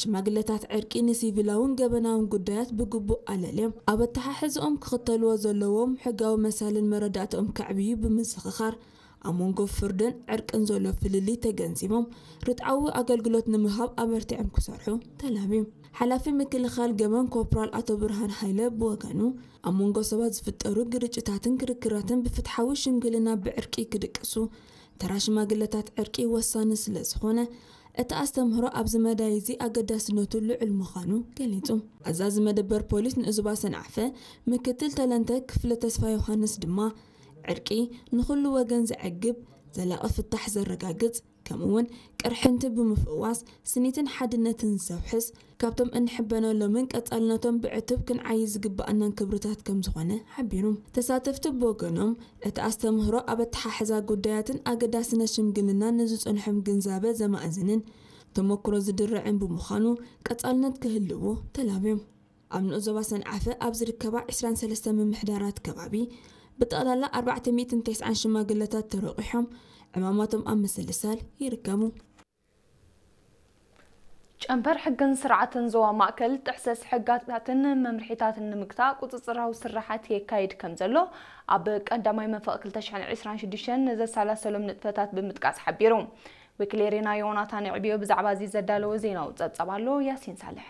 ሽማግለታት ዕርቂ ንሲቪላውን ገበናውን ጉዳያት ብግቡእ ኣለልዮም ኣብ ኣተሓሕዝኦም ክኽተልዎ ዘለዎም ሕጋዊ መሳልን መረዳእታኦም ከዕብዩ ብምዝኽኻር፣ ኣብ መንጎ ፍርድን ዕርቅን ዘሎ ፍልልይ ተገንዚቦም ርትዓዊ ኣገልግሎት ንምሃብ ኣበርቲዖም ክሰርሑ ተላብዩ። ሓላፊ ምክልኻል ገበን ኮፕራል ኣቶ ብርሃን ሃይለ ብወገኑ፣ ኣብ መንጎ ሰባት ዝፍጠሩ ግርጭታትን ክርክራትን ብፍትሓዊ ሽምግልና ብዕርቂ ክድቅሱ ተራ ሽማግለታት ዕርቂ ወሳኒ ስለ ዝኾነ፣ እቲ ኣስተምህሮ ኣብዚ መዳይ እዚ ኣገዳስነቱ ልዑል ምዃኑ ገሊጹ። ኣዛዚ መደበር ፖሊስ ንኡዝባ ሰንዓፈ ምክትል ተለንተ ክፍለ ተስፋ ዮሃንስ ድማ፣ ዕርቂ ንኹሉ ወገን ዘዕግብ፣ ዘላቒ ፍታሕ ዘረጋግጽ፣ ከምኡውን ቅርሕንቲ ብምፍዋስ ስኒትን ሓድነትን ዘውሕስ፣ ካብቶም እንሕበነሎምን ቀጻልነቶም ብዕቱብ ክንዓዪ ዝግብኣናን ክብርታት ከም ዝኾነ ሓቢሩ። ተሳተፍቲ ብወገኖም፣ እቲ ኣስተምህሮ ኣብ ኣተሓሕዛ ጉዳያትን ኣገዳስነት ሽምግልናን ንዝጸንሖም ግንዛበ ዘማእዝንን ተመክሮ ዝድርዕን ብምዃኑ ቀጻልነት ክህልዎ ተላብዮም። ኣብ ንኡስ ዞባ ሰንዓፈ ኣብ ዝርከባ ዕስራን ሰለስተን ምምሕዳራት ከባቢ ብጠቕላላ ኣርባዕተ ሚእትን ተስዓን ሽማግለታት ተረቂሖም ዕማማቶም ኣብ ምስልሳል ይርከቡ። ጨንፈር ሕግን ስርዓትን ዞባ ማእከል ጥሕሰት ሕግታትን መምርሒታትን ንምግታእ ቁጽጽራዊ ስርሓት የካይድ ከም ዘሎ ኣብ ቀዳማይ መንፈቕ ክልተ ሽሕን ዕስራን ሽዱሽተን ዘሰላሰሎም ንጥፈታት ብምጥቃስ ሓቢሩ። ወኪል ኤሪና ዮናታን ዕብዮ ብዛዕባ እዚ ዘዳለዎ ዜናዊ ጸብጻብ ኣሎ። ያሲን ሳልሕ።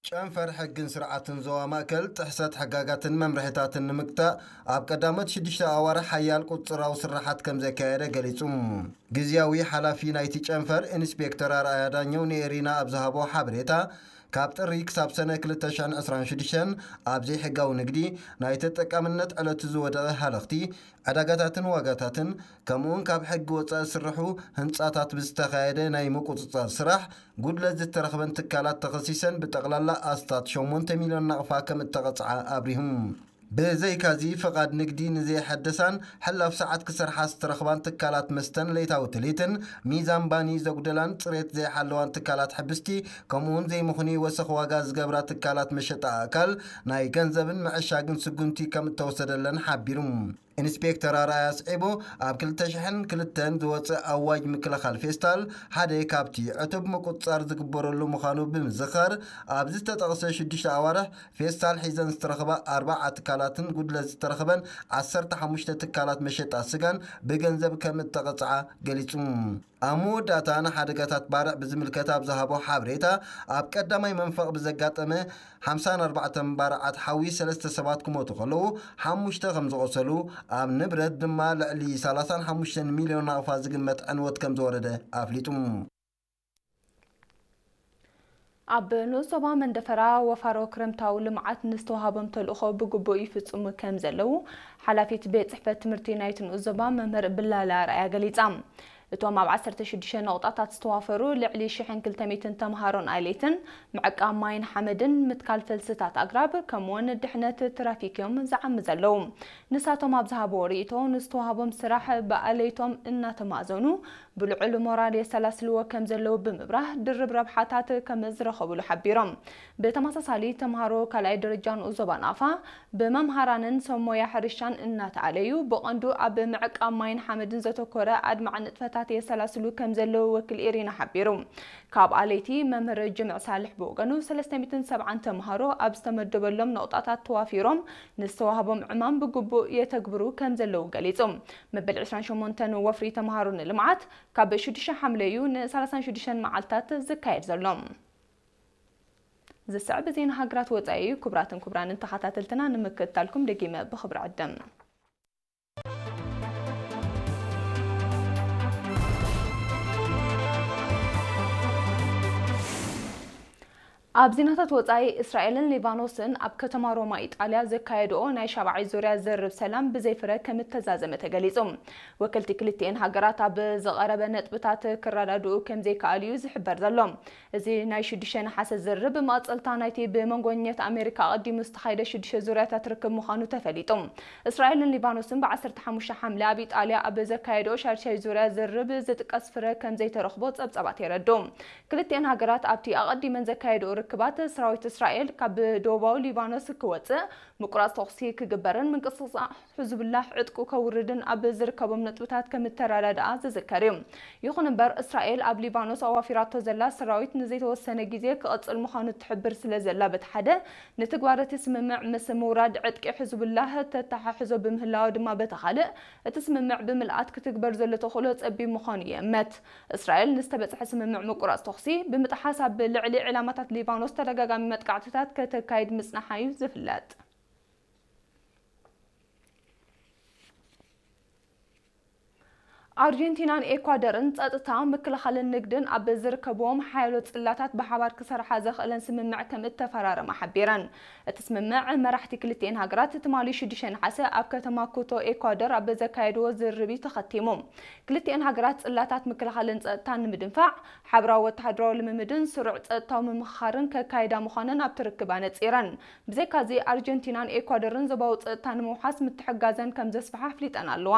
ጨንፈር ሕግን ስርዓትን ዞባ ማእከል ጥሕሰት ሕጋጋትን መምርሒታትን ንምግታእ ኣብ ቀዳሞት ሽዱሽተ ኣዋርሕ ሓያል ቁጽጽራዊ ስርሓት ከም ዘካየደ ገሊጹ። ግዝያዊ ሓላፊ ናይቲ ጨንፈር ኢንስፔክተር ኣርኣያ ዳኘው ንኤሪና ኣብ ዝሃቦ ሓበሬታ፣ ካብ ጥሪ ክሳብ ሰነ ክልተ ሽሕን ዕስራን ሽዱሽተን ኣብ ዘይሕጋዊ ንግዲ፣ ናይ ተጠቃምነት ዕለቱ ዝወደቐ ሃለኽቲ፣ ዕዳጋታትን ዋጋታትን፣ ከምኡውን ካብ ሕጊ ወጻኢ ዝስርሑ ህንጻታት ብዝተኻየደ ናይ ምቁጽጻር ስራሕ ጉድለት ዝተረኽበን ትካላት ተኸሲሰን ብጠቕላላ ኣስታት ሸሞንተ ሚልዮን ናቕፋ ከም እተቐጽዓ ኣብሪሁ። ብዘይካዚ ፍቓድ ንግዲ ንዘይሐደሳን ሕላፍ ሰዓት ክሰርሓ ዝተረኽባን ትካላት መስተን ለይታዊ ትልሂትን ሚዛን ባኒ ዘጉደላን ጽሬት ዘይሓለዋን ትካላት ሕብስቲ ከምኡውን ዘይምኽኑይ ወሰኽ ዋጋ ዝገብራ ትካላት መሸጣ ኣእካል ናይ ገንዘብን ምዕሻግን ስጉምቲ ከም እተወሰደለን ሓቢሩ። ኢንስፔክተር ኣርኣያ ኣስዒቡ፣ ኣብ ክልተ ሽሕን ክልተን ዝወጽእ ኣዋጅ ምክልኻል ፌስታል ሓደ ካብቲ ዕቱብ ምቁጽጻር ዝግበረሉ ምዃኑ ብምዝኻር፣ ኣብ ዝተጠቕሰ ሽዱሽተ ኣዋርሕ ፌስታል ሒዘን ዝተረኽባ ኣርባዓ ትካላትን ጉድለት ዝተረኽበን ዓሰርተ ሓሙሽተ ትካላት መሸጣ ስጋን ብገንዘብ ከም እተቐጽዓ ገሊጹ። ኣብ መወዳእታ ንሓደጋታት ባርዕ ብዝምልከት ኣብ ዝሃቦ ሓበሬታ፣ ኣብ ቀዳማይ መንፈቕ ብዘጋጠመ ሓምሳን ኣርባዕተን ባርዓት ሓዊ ሰለስተ ሰባት ክሞቱ ከለዉ፣ ሓሙሽተ ከም ዝቖሰሉ፣ ኣብ ንብረት ድማ ልዕሊ ሰላሳን ሓሙሽተን ሚልዮን ናቕፋ ዝግመት ዕንወት ከም ዝወረደ ኣፍሊጡ። ኣብ ንኡስ ዞባ መንደፈራ ወፋሮ ክረምታዊ ልምዓት ንዝተዋሃቦም ተልእኾ ብግቡእ ይፍጽሙ ከም ዘለዉ ሓላፊት ቤት ጽሕፈት ትምህርቲ ናይቲ ንኡስ ዞባ መምህር ብላላ ኣርኣያ ገሊጻ። እቶም ኣብ ዓሰርተ ሽዱሽተ ነቑጣታት ዝተዋፈሩ ልዕሊ ሽሕን ክልተ ሚእትን ተምሃሮን ኣለይትን፣ ምዕቃብ ማይን ሓመድን፣ ምትካል ፈልስታት ኣግራብ፣ ከምኡውን ድሕነት ትራፊክ እዮም ዝዓሚ ዘለዉ። ንሳቶም ኣብ ዝሃብዎ ርእይቶ፣ ንዝተዋህቦም ስራሕ ብኣለይቶም እናተማእዘኑ፣ ብልዑል ሞራል የሰላስልዎ ከም ዘለዉ ብምብራህ፣ ድርብ ረብሓታት ከም ዝረኸብሉ ሓቢሮም። ብተመሳሳሊ፣ ተምሃሮ ካልኣይ ደረጃ ንኡስ ዞባ ናቕፋ፣ ብመምሃራንን ሰብ ሞያ ሕርሻን እናተኣለዩ፣ ብቐንዱ ኣብ ምዕቃብ ማይን ሓመድን ዘተኮረ ኣድማዒ ንጥፈታት የሰላስሉ ከም ዘለዉ ወኪል ኤሪና ሓቢሩ። ካብ ኣለይቲ መምህር ጅምዕ ሳልሕ ብወገኑ፣ ሰለስተ ሚእትን ሰብዓን ተምሃሮ ኣብ ዝተመደበሎም ነቑጣታት ተዋፊሮም ንዝተዋህቦም ዕማም ብግቡእ የተግብሩ ከም ዘለዉ ገሊጹ። መበል ዕስራን ሸሞንተን ወፍሪ ተምሃሮ ንልምዓት ካብ ሽዱሽተ ሓምለ እዩ ንሰላሳን ሽዱሽተን መዓልታት ዝካየድ ዘሎ። ዝስዕብ ዜና ሃገራት ወጻኢ እዩ። ክቡራትን ክቡራንን ተኸታተልትና፣ ንምክትታልኩም ደጊመ ብኽብሪ ዕድም። ኣብ ዜናታት ወጻኢ፣ እስራኤልን ሊባኖስን ኣብ ከተማ ሮማ ኢጣልያ ዘካየድኦ ናይ ሻብዓይ ዙርያ ዝርርብ ሰላም ብዘይፍረ ከም እተዛዘመ ተገሊጹ። ወከልቲ ክልቲኤን ሃገራት ኣብ ዝቐረበ ነጥብታት ክረዳድኡ ከም ዘይከኣሉ እዩ ዝሕበር ዘሎ። እዚ ናይ ሽዱሽተ ነሓሰ ዝርርብ መቐጸልታ ናይቲ ብመንጎኛታት ኣሜሪካ ኣቐዲሙ ዝተኻየደ ሽዱሽተ ዙርያታት ርክብ ምዃኑ ተፈሊጡ። እስራኤልን ሊባኖስን ብዓሰርተ ሓሙሽተ ሓምለ ኣብ ኢጣልያ ኣብ ዘካየድኦ ሻድሻይ ዙርያ ዝርርብ ዝጥቀስ ፍረ ከም ዘይተረኽቦ ጸብጻባት የረድኡ። ክልቲኤን ሃገራት ኣብቲ ኣቐዲመን ዘካየድኦ ርክባት ሰራዊት እስራኤል ካብ ደቡባዊ ሊባኖስ ክወጽእ፣ ምቁራጽ ተኹሲ ክግበርን ምንቅስቃስ ሕዝቡላህ ዕጥቁ ከውርድን ኣብ ዝርከቦም ነጥብታት ከምተረዳድኣ ዝዝከር እዩ። ይኹን እምበር፣ እስራኤል ኣብ ሊባኖስ ኣዋፊራቶ ዘላ ሰራዊት ንዘይተወሰነ ግዜ ክቕጽል ምዃኑ ትሕብር ስለ ዘላ፣ በቲ ሓደ፣ ንትግባረ እቲ ስምምዕ ምስ ምውራድ ዕጥቂ ሕዝቡላህ ተተሓሕዞ ብምህላዋ ድማ፣ በቲ ካልእ፣ እቲ ስምምዕ ብምልኣት ክትግበር ዘሎ ተኽእሎ ጸቢብ ምዃኑ ይእመት። እስራኤል ንዝተበጽሐ ስምምዕ ምቁራጽ ተኹሲ ብምጥሓስ ኣብ ልዕሊ ዕላማታት ሊባኖስ ተደጋጋሚ መጥቃዕትታት ከተካይድ ምጽናሓ እዩ ዝፍለጥ። ኣርጀንቲናን ኤኳደርን ጸጥታ፣ ምክልኻልን ንግድን ኣብ ዝርከብዎም ሓያሎ ጽላታት ብሓባር ክሰርሓ ዘኽእለን ስምምዕ ከም እተፈራረማ ሓቢረን። እቲ ስምምዕ መራሕቲ ክልቲኤን ሃገራት ትማሊ ሽዱሽተ ነሓሰ ኣብ ከተማ ኩቶ ኤኳደር ኣብ ዘካየድዎ ዝርርብ እዩ ተኸቲሙ። ክልቲኤን ሃገራት ጽላታት ምክልኻልን ጸጥታን ንምድንፋዕ፣ ሓበራዊ ወተሃደራዊ ልምምድን ስሩዕ ጸጥታዊ ምምኽኻርን ከካይዳ ምዃነን ኣብቲ ርክብ ኣነጺረን። ብዘይካዚ፣ ኣርጀንቲናን ኤኳዶርን ዞባዊ ጸጥታ ንምውሓስ ምትሕጋዘን ከም ዘስፍሓ ኣፍሊጠን ኣለዋ።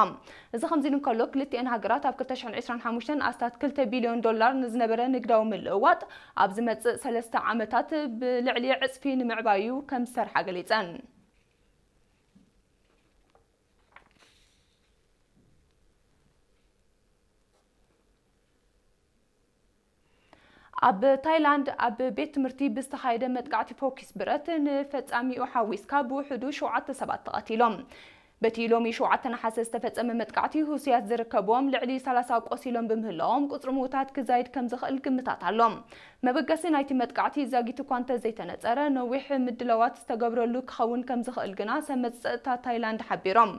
እዚ ከምዚ ኢሉ እንከሎ፣ ክልቲኤን ሃገራት ኣብ ክልተ ሽሕን ዕስራን ሓሙሽተን ኣስታት ክልተ ቢልዮን ዶላር ንዝነበረ ንግዳዊ ምልውዋጥ ኣብ ዝመጽእ ሰለስተ ዓመታት ብልዕሊ ዕጽፊ ንምዕባዩ ከም ዝሰርሓ ገሊጸን። ኣብ ታይላንድ ኣብ ቤት ትምህርቲ ብዝተኻየደ መጥቃዕቲ ፎኪስ ብረት፣ ንፈጻሚኡ ሓዊስካ ብውሕዱ ሸውዓተ ሰባት ተቐቲሎም። በቲ ሎሚ ሸውዓተ ነሓሰ ዝተፈጸመ መጥቃዕቲ፣ ህሱያት ዝርከብዎም ልዕሊ ሰላሳ ቆሲሎም ብምህላዎም፣ ቁጽሪ ምዉታት ክዛይድ ከም ዝኽእል ግምታት ኣሎ። መበገሲ ናይቲ መጥቃዕቲ ዛጊት እኳ እንተዘይተነጸረ፣ ነዊሕ ምድላዋት ዝተገብረሉ ክኸውን ከም ዝኽእል ግና ሰመጽ ጸጥታ ታይላንድ ሓቢሮም።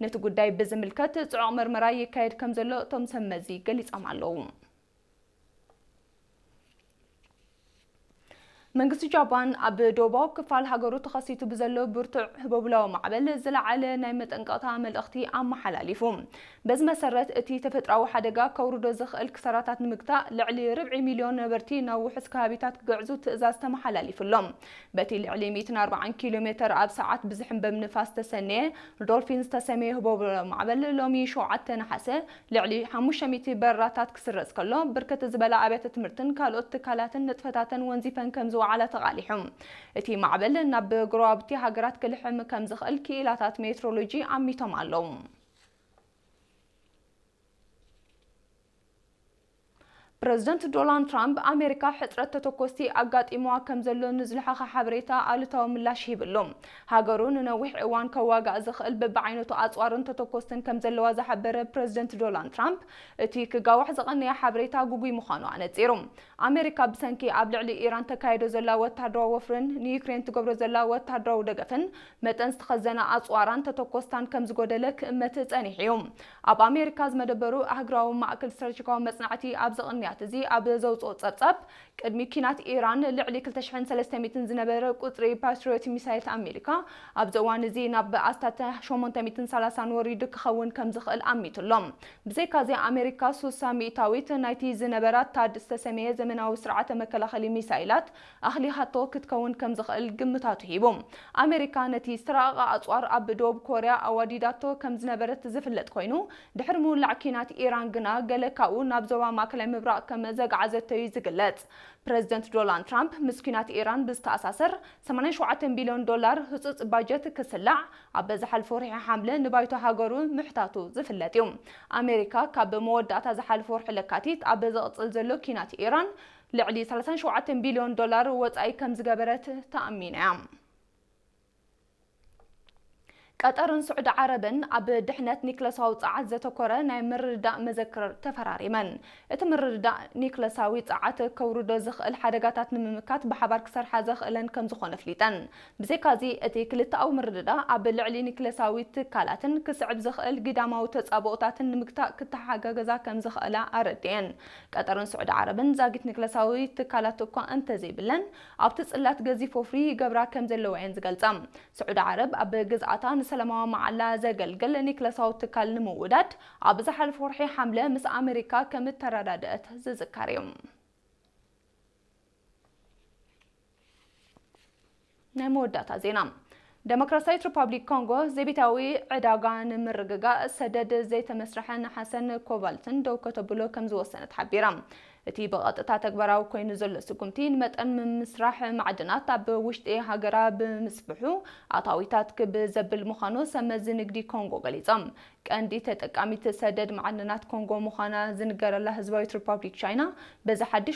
ነቲ ጉዳይ ብዝምልከት ጽዑቕ መርመራ ይካየድ ከም ዘሎ እቶም ሰመዚ ገሊጾም ኣለዉ። መንግስቲ ጃፓን ኣብ ደቡባዊ ክፋል ሃገሩ ተኸሲቱ ብዘሎ ብርቱዕ ህቦብላዊ ማዕበል ዝለዓለ ናይ መጠንቀቕታ መልእኽቲ ኣመሓላሊፉ። በዚ መሰረት፣ እቲ ተፈጥሮኣዊ ሓደጋ ከውርዶ ዝኽእል ክሳራታት ንምግታእ፣ ልዕሊ ርብዒ ሚልዮን ነበርቲ ናብ ውሑስ ከባቢታት ክግዕዙ ትእዛዝ ተመሓላሊፉሎም። በቲ ልዕሊ ሚእትን ኣርባዓን ኪሎ ሜተር ኣብ ሰዓት ብዝሕንበብ ንፋስ ተሰነየ ዶልፊን ዝተሰመየ ህቦብላዊ ማዕበል፣ ሎሚ ሸውዓተ ነሓሰ፣ ልዕሊ ሓሙሽተ ሚእቲ በረራታት ክስረዝ ከሎ፣ ብርክት ዝበላ ኣብያተ ትምህርትን ካልኦት ትካላትን ንጥፈታተን ወንዚፈን ከም ዝወዓላ ተቓሊሑ። እቲ ማዕበል ናብ ጎረባብቲ ሃገራት ክልሕም ከም ዝኽእል ክኢላታት ሜትሮሎጂ ኣሚቶም ኣለዉ። ፕረዚደንት ዶናልድ ትራምፕ፣ ኣሜሪካ ሕጽረት ተተኮስቲ ኣጋጢምዋ ከም ዘሎ ንዝለሓኸ ሓበሬታ ኣሉታዊ ምላሽ ሂብሉ። ሃገሩ ንነዊሕ እዋን ከዋጋእ ዝኽእል በብዓይነቱ ኣጽዋርን ተተኮስትን ከም ዘለዋ ዝሓበረ ፕረዚደንት ዶናልድ ትራምፕ፣ እቲ ክጋዋሕ ዝቐነየ ሓበሬታ ግጉይ ምዃኑ ኣነጺሩ። ኣሜሪካ ብሰንኪ ኣብ ልዕሊ ኢራን ተካይዶ ዘላ ወተሃደራዊ ወፍርን ንዩክሬን ትገብሮ ዘላ ወተሃደራዊ ደገፍን፣ መጠን ዝተኸዘነ ኣጽዋራን ተተኮስታን ከም ዝጎደለ ክእመት ጸኒሑ እዩ። ኣብ ኣሜሪካ ዝመደበሩ ኣህጉራዊ ማእከል ስትራቴጂካዊ መጽናዕቲ ኣብዚ ቅንያት እዚ ኣብ ዘውጽኦ ጸብጻብ፣ ቅድሚ ኲናት ኢራን ልዕሊ ክልተ ሽሕን ሰለስተ ሚእትን ዝነበረ ቁጽሪ ፓትሪዮት ሚሳይላት ኣሜሪካ፣ ኣብዚ እዋን እዚ ናብ ኣስታት ሸሞንተ ሚእትን ሰላሳን ወሪዱ ክኸውን ከም ዝኽእል ኣሚቱ ኣሎ። ብዘይካዚ፣ ኣሜሪካ ሱሳ ሚእታዊት ናይቲ ዝነበራ ታድ ዝተሰመየ ዘመናዊ ስርዓተ መከላኸሊ ሚሳይላት ኣኽሊኻቶ ክትከውን ከም ዝኽእል ግምታቱ ሂቡ። ኣሜሪካ ነቲ ዝተራቐቐ ኣጽዋር ኣብ ደቡብ ኮርያ ኣዋዲዳቶ ከም ዝነበረት ዝፍለጥ ኮይኑ፣ ድሕሪ ምውላዕ ኲናት ኢራን ግና ገለ ካብኡ ናብ ዞባ ማእከላይ ምብራቕ ከም ዘግዓዘቶ እዩ ዝግለጽ። ፕረዚደንት ዶናልድ ትራምፕ ምስ ኲናት ኢራን ብዝተኣሳሰር ሰማንያን ሸውዓተን ቢልዮን ዶላር ህጹጽ ባጀት ክስላዕ ኣብ ዝሓለፈ ወርሒ ሓምለ ንባይቶ ሃገሩ ምሕታቱ ዝፍለጥ እዩ። ኣሜሪካ ካብ መወዳእታ ዝሓለፈ ወርሒ ለካቲት ኣብ ዝቕጽል ዘሎ ኲናት ኢራን ልዕሊ ሰላሳን ሸውዓተን ቢልዮን ዶላር ወጻኢ ከም ዝገበረት ተኣሚና እያ። ቀጠርን ስዑዲ ዓረብን ኣብ ድሕነት ኒክለሳዊ ጸዓት ዘተኮረ ናይ ምርድዳእ መዘክር ተፈራሪመን። እቲ ምርድዳእ ኒክለሳዊ ጸዓት ከውርዶ ዝኽእል ሓደጋታት ንምምካት ብሓባር ክሰርሓ ዘኽእለን ከም ዝኾነ ኣፍሊጠን። ብዘይካዚ፣ እቲ ክልተኣዊ ምርድዳእ ኣብ ልዕሊ ኒክለሳዊ ትካላትን ክስዕብ ዝኽእል ግዳማዊ ተጻብኦታትን ንምግታእ ክተሓጋገዛ ከም ዝኽእላ ኣረድኤን። ቀጠርን ስዑዲ ዓረብን ዛጊት ኒክለሳዊ ትካላት እኳ እንተዘይብለን፣ ኣብቲ ጽላት ገዚፍ ወፍሪ ይገብራ ከም ዘለዋ እየን ዝገልጻ። ስዑዲ ዓረብ ኣብ ግዝኣታ ንሰላማዊ መዓላ ዘገልግል ኒክለሳዊ ትካል ንምውዳድ ኣብ ዝሓለፈ ወርሒ ሓምለ ምስ ኣሜሪካ ከም እተረዳደአት ዝዝከር እዩ። ናይ መወዳእታ ዜና። ደሞክራሲያዊት ሪፓብሊክ ኮንጎ ዘይቤታዊ ዕዳጋ ንምርግጋእ ሰደድ ዘይተመስርሐ ነሓሰን ኮባልትን ደው ከተብሎ ከም ዝወሰነት ሓቢራ። እቲ ብቐጥታ ተግባራዊ ኮይኑ ዘሎ ስጉምቲ ንመጠን ምምስራሕ ማዕድናት ኣብ ውሽጢ ሃገራ ብምስፍሑ ኣታዊታት ክብ ዘብል ምዃኑ ሰብ መዚ ንግዲ ኮንጎ ገሊጾም። ቀንዲ ተጠቃሚት ሰደድ ማዕድናት ኮንጎ ምዃና ዝንገረላ ህዝባዊት ሪፓብሊክ ቻይና በዚ ሓድሽ